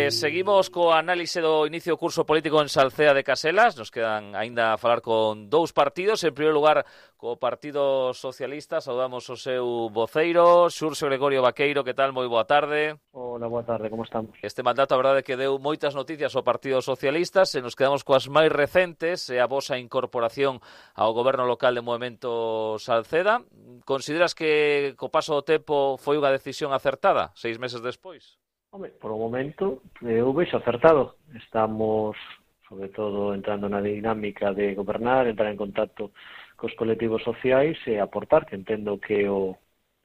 Seguimos co análise do inicio do curso político en Salcea de Caselas. Nos quedan aínda a falar con dous partidos. En primeiro lugar, co Partido Socialista. Saudamos o seu voceiro, Xurxo Gregorio Vaqueiro. Que tal? Moi boa tarde. Hola, boa tarde, como estamos? Este mandato, a verdade, que deu moitas noticias ao Partido Socialista. Se nos quedamos coas máis recentes, e a vosa incorporación ao goberno local de Movemento Salceda. Consideras que co paso do tempo foi unha decisión acertada, 6 meses despois? Hombre, por o momento, eu vexo acertado. Estamos, sobre todo, entrando na dinámica de gobernar, entrar en contacto cos colectivos sociais e aportar, que entendo que o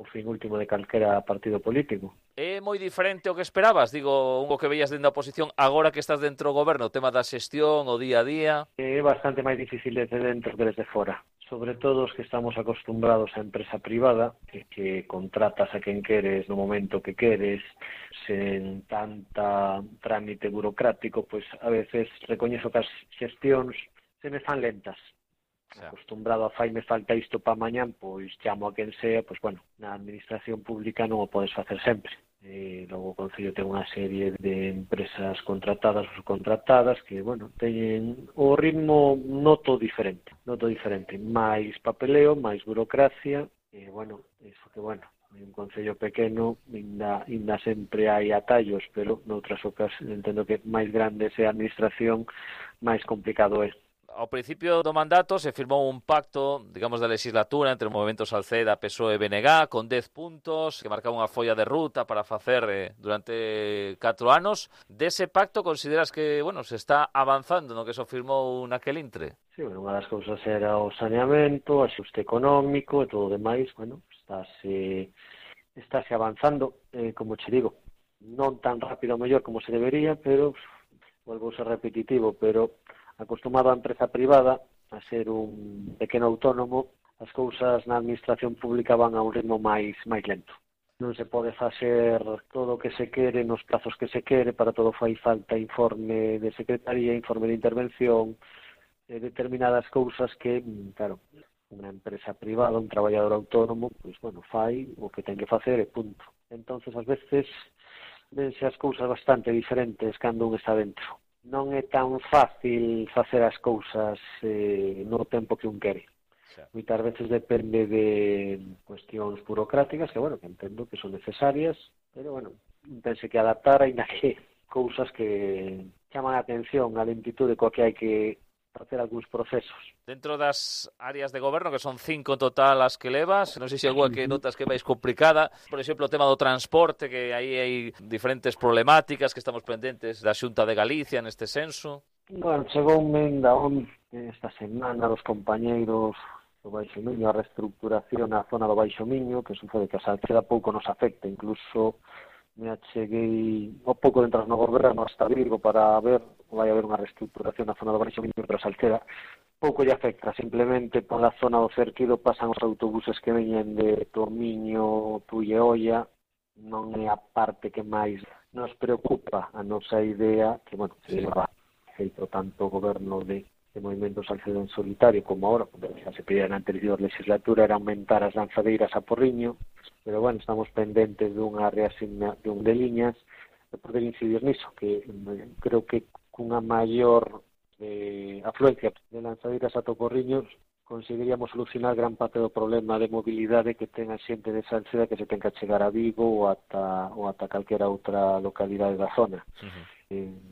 fin último de calquera partido político. É moi diferente o que esperabas? Digo, o que veías dentro da oposición, agora que estás dentro do goberno, o tema da xestión, o día a día... É bastante máis difícil desde dentro que desde fora. Sobre todo os que estamos acostumbrados á empresa privada, que contratas a quen queres no momento que queres, sen tanta trámite burocrático, pois a veces recoñezo que as xestións se me fan lentas. Acostumbrado a me falta isto para mañán, pois chamo a quen sea, pois bueno, na administración pública non o podes facer sempre. Logo o Concello ten unha serie de empresas contratadas ou subcontratadas que, bueno, teñen o ritmo noto diferente, máis papeleo, máis burocracia, e, bueno, iso que, bueno, en un concello pequeno ainda sempre hai atallos, pero noutras ocasiones entendo que máis grande é a administración, máis complicado é. Ao principio do mandato se firmou un pacto, digamos, da legislatura entre o Movemento Salceda, PSOE e BNG, con 10 puntos, que marcaba unha folla de ruta para facer durante 4 anos. Dese pacto consideras que, bueno, se está avanzando no que se firmou naquel intre? Sí, bueno, unha das cousas era o saneamento, o axuste económico e todo o demais, bueno, estáse avanzando, como che digo, non tan rápido mellor como se debería, pero volvo a ser repetitivo, pero acostumado á empresa privada, a ser un pequeno autónomo, as cousas na administración pública van a un ritmo máis lento. Non se pode facer todo o que se quere nos plazos que se quere, para todo fai falta informe de secretaría, informe de intervención, determinadas cousas que, claro, unha empresa privada, un traballador autónomo, pois, bueno, fai o que ten que facer e punto. Entonces, ás veces, vense as cousas bastante diferentes cando un está dentro. Non é tan fácil facer as cousas no tempo que un quere. Moitas veces depende de cuestións burocráticas que, bueno, que entendo que son necesarias, pero, bueno, pense que adaptar aínda que cousas que chaman a atención, a lentitude coa que hai que facer algúns procesos. Dentro das áreas de goberno, que son 5 en total as que levas, non sei se alguna que notas que é máis complicada, por exemplo, o tema do transporte, que aí hai diferentes problemáticas que estamos pendentes da Xunta de Galicia neste senso. Bueno, chegou un menda esta semana dos compañeiros do Baixo Miño, a reestructuración na zona do Baixo Miño, que sucede que a Salceda pouco nos afecta, incluso me acheguei ao pouco de entrar no goberno hasta Virgo para ver, vai haber unha reestructuración na zona do Baixo Miño, pero a Salceda pouco lle afecta, simplemente pola zona do Cerquido pasan os autobuses que veñen de Tomiño, Tui e Olla, non é a parte que máis nos preocupa. A nosa idea, que, bueno, se leva feito tanto o goberno de Movemento Salceda en solitario como ahora, porque xa se pedía na anterior legislatura, era aumentar as lanzadeiras a Porriño, pero, bueno, estamos pendentes dunha reasignación de liñas e poder incidir niso, que creo que cunha maior afluencia de lanzadeiras a Porriño conseguiríamos solucionar gran parte do problema de mobilidade que ten a xente de Salceda, que se ten que chegar a Vigo ou ata calquera outra localidade da zona.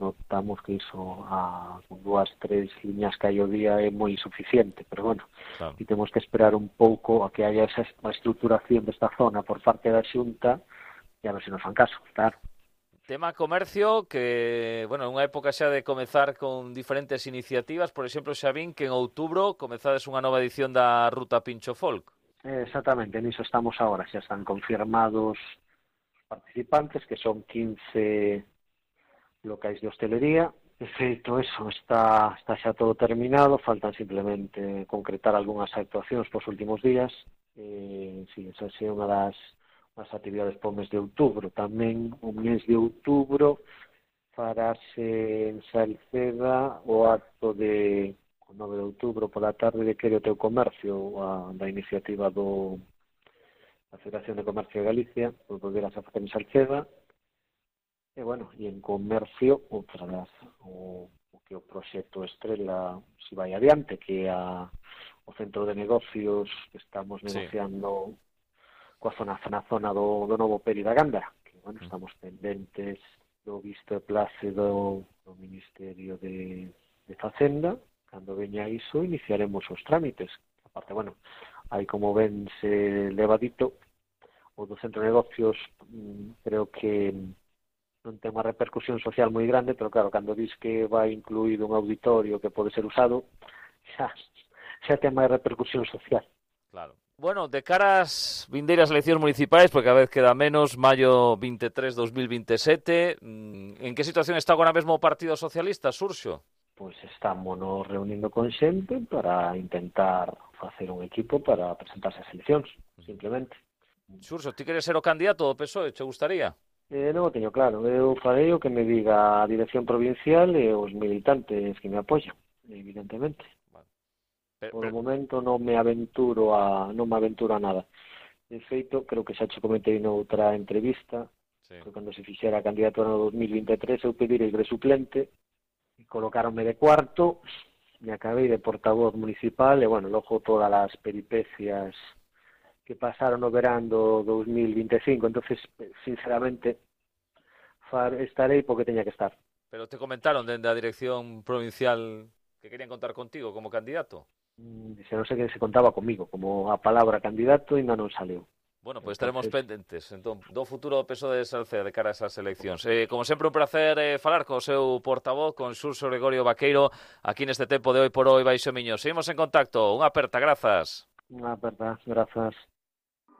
Notamos que iso con 2-3 liñas que hai o día é moi insuficiente, pero, bueno, claro, e temos que esperar un pouco a que haya esa estruturación desta zona por parte da Xunta e a ver se nos fan caso, claro. Tema comercio, que, bueno, é unha época xa de comezar con diferentes iniciativas. Por exemplo, xa vin que en outubro comezades unha nova edición da Ruta Pincho Folk. Exactamente, niso estamos agora. Xa están confirmados os participantes, que son 15 locais de hostelería. De feito, eso, está xa todo terminado, faltan simplemente concretar algunhas actuacións pos últimos días. Sí, esa é unha das actividades para o mes de outubro. Tamén o mes de outubro farase en Salceda o acto de 9 de outubro pola tarde de Quere o teu comercio, da iniciativa da Federación de Comercio de Galicia, por volver a facer en Salceda. E en comercio, o que o proxecto Estrela se vai adiante, que é o centro de negocios que estamos negociando na zona do novo Peri da Gándara, que, estamos pendentes do visto e place do Ministerio de Facenda. Cando veña iso, iniciaremos os trámites. Aparte, aí como ven se levadito, o do centro de negocios creo que non ten unha repercusión social moi grande, pero claro, cando dis que vai incluído un auditorio que pode ser usado, xa ten máis repercusión social. Claro. Bueno, de cara ás vindeiras eleccións municipais, porque cada vez queda menos, maio 23, 2027, en que situación está agora mesmo o Partido Socialista, Xurxo? Pois estamos nos reunindo con xente para intentar facer un equipo para presentarse ás eleccións, simplemente. Xurxo, ti queres ser o candidato do PSOE, che gustaría? Non o teño claro, eu farei o que me diga a dirección provincial e os militantes que me apoian, evidentemente. Por o momento non me aventuro a nada. De feito, creo que xa che comentei noutra entrevista, que cando se fixera a candidatura no 2023 eu pedirei de suplente e colocaronme de cuarto e acabei de portavoz municipal e, logo todas as peripecias que pasaron no verán do 2025, entonces sinceramente estarei porque teña que estar. Pero te comentaron dende a dirección provincial que querían contar contigo como candidato? Se non sei que se contaba comigo, como a palabra candidato ainda non saleu. Bueno, pois estaremos pendentes entón, do futuro do PSOE de Salceda de cara a esas eleccións. Como sempre, un placer falar co seu portavoz, con Xurxo Gregorio Vaqueiro, aquí neste tempo de Hoy por Hoy Baixo Miño. Seguimos en contacto. Unha aperta, grazas. Unha aperta, grazas.